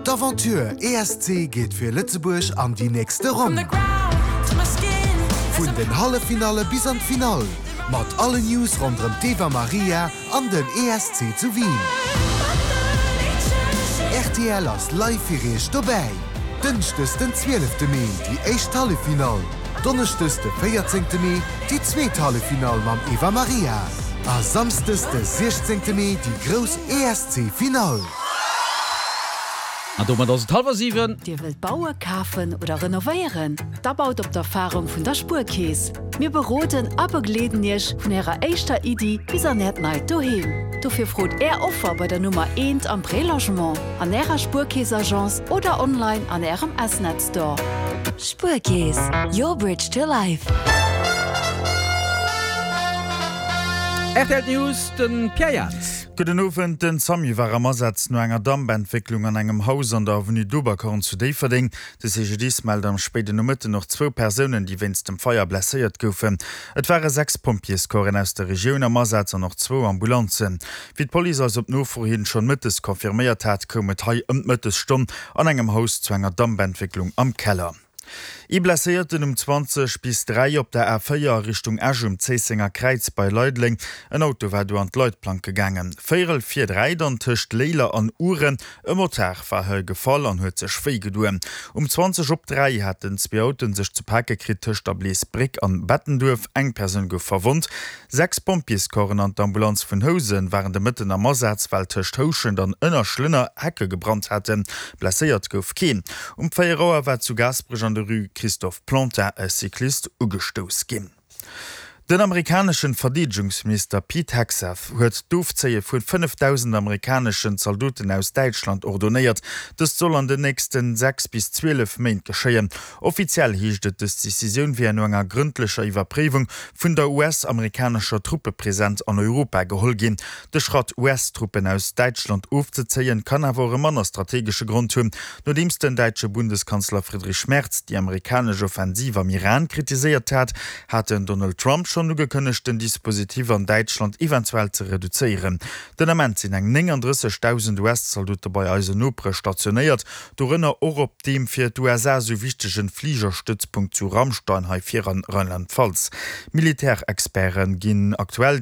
D'Aventure ESC geet fir Lëtzebuerg an déi nächste Ronn. Vun den Halleffinalle bis an d'Finall, mat allen News ronderëm d'Eva Marija an den ESC zu Wien. Rtl ass live fir iech dobäi. Dënschdes den 12 Mee déi éischt Halleffinall, Donneschdes de 14 Mee déi zweet Halleffinall mam Eva Marija a Samsdes de 16 Mee déi grouss ESC Finall. An domat ass et hallwer 7. Dir wëllt baue, kafen oder renovéieren? Da baut op d'Erfarung vun der Spuerkeess. Mir beroden a begleeden Iech vun Ärer éischter Iddi bis an Äert neit Doheem. Dofir frot Är Offer bei der Nummer eent am Prélogement, an Ärer Spuerkeess-Agence oder online an Ärem S-Net Store. Spuerkeess, your bridge to life. Rtl News, de Pierre Jans. Gudden Owend, Den Samu war am Asaz no enger Dampentwécklung an engem Haus an der Avenue d'Oberkorn zu Déifferdeng. De CGDIS mellt am spéiden Nomëtten och zwou Persounen, déi wéinst dem Feier blesséiert goufen. Et ware 6 Pompjeescorpsen aus der Regioun am Asaz an och zwou Ambulanzen. Wéi d'Police eis op Nofro hin schonn mëttes confirméiert hat, koum et hei ëm d'Mëttesstonn an engem Haus zu enger Dampentwécklung am Keller. Ee Blesséierten um 20 bis 3 op der A4 a Richtung Esch um Zéissenger Kräiz bei Leideleng. En Auto war do an d'Leitplanke gaangen. Véierel vir 3 dann tëscht Léiler an Ouren. E Motard war hei gefall an huet sech wéi gedoen. Um 20 op 3 haten zwee Autoen sech ze pake kritt tëscht der Bleesbréck an Bettenduerf. Eng Persoun gouf verwonnt. 6 Pompjeescorpsen an d'Ambulanz vun Housen waren de Mëtten am Asaz, well tëscht Houschent an Ënnerschlënner Hecke gebrannt haten. Blesséiert gouf keen. Um 4 Auer war zu Gaasperech an der Rue Christophe Plantin e Cyclist ugestouss ginn. Den amerikaneschen Verdeedegungsminister Pete Hegseth huet d'Ofzéie vu 5.000 amerikaneschen Zaldoten aus Däitschland ordonéiert. Dëst soll an den nächsten 6 bis 12 Méint geschéien. Offiziell heescht et, dës Decisioun wier no enger grëndlecher Iwwerpréiwung vun der US-amerikanescher Truppepresenz an Europa geholl ginn. De Schratt, US-Truppen aus Däitschland ofzezéien, kann awer och e manner strategesche Grond hunn. Nodeems den däitsche Bundeskanzler Friedrich Merz déi amerikanesch Offensiv am Iran kritiséiert hat, hat den Donald Trump schonn ugekënnegt, den Dispositif an Däitschland eventuell ze reduzéieren. Den Ament sinn eng 39.000 US-Zaldote bei eisen Nopere stationéiert, dorënner och op deem fir d'USA esou wichtegen Fligerstëtzpunkt zu Ramstein hei vir an Rheinland-Pfalz. Militärexperte ginn aktuell déi.